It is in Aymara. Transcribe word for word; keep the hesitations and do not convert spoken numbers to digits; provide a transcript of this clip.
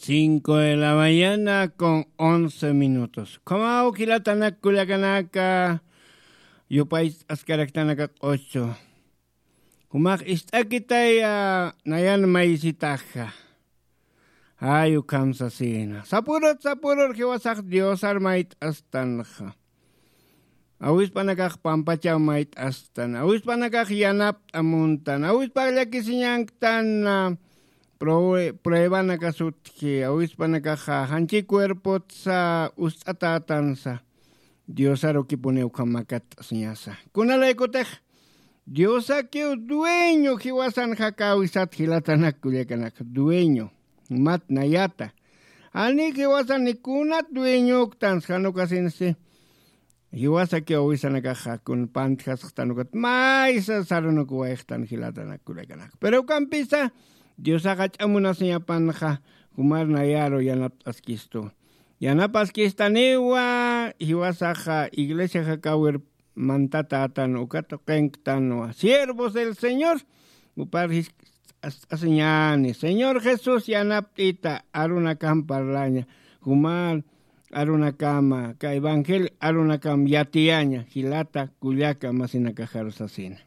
Cinco de la mañana con once minutos. Khamaw jilatanak kullakanaka, yupaych'askaraktanaka q'uchu. Jumax ist'akitaya nayan maysitaxa. Ay, ukham sasina. Sapurut, sapurur jiwasax Diosar mayt'astanxa. Awispanakax pampachaw mayt'astan, awispanakax yanapt'a muntan, awispa llakisiñanktan, ah, prue-, pruebanaka sutji, awispanakaxa janchi cuerpotsa ust'atätansa, Diosaru kipuniw ukham makatt'asiñasa. Kunalaykutix Diosakiw dueño jiwasan jakäwisat jilatanak kullakanak, dueño, mat nayata. Jani jiwasan ni kunat dueñoktan, jan ukasinsi. Jiwasakiw awisanakaxa kun pantjasxtan ukat maysa sarunukuwayxtan jilatanak kullakanak. Pero ukampisa Diosax jach'a munasiñapanxa, jumar nayaru yanapt'askistu. Yanapaskistaniwa, jiwasaxa iglesia jakäwir mantatätan ukat tuqinktanwa. Siervos del Señor, jupar jiskt'asiñäni. Señor Jesús yanapt'ita, arunakam parlaña. Jumar arunakama, ka evangelio arunakam yatiyaña, jilata kullaka masinakaxaru sasina.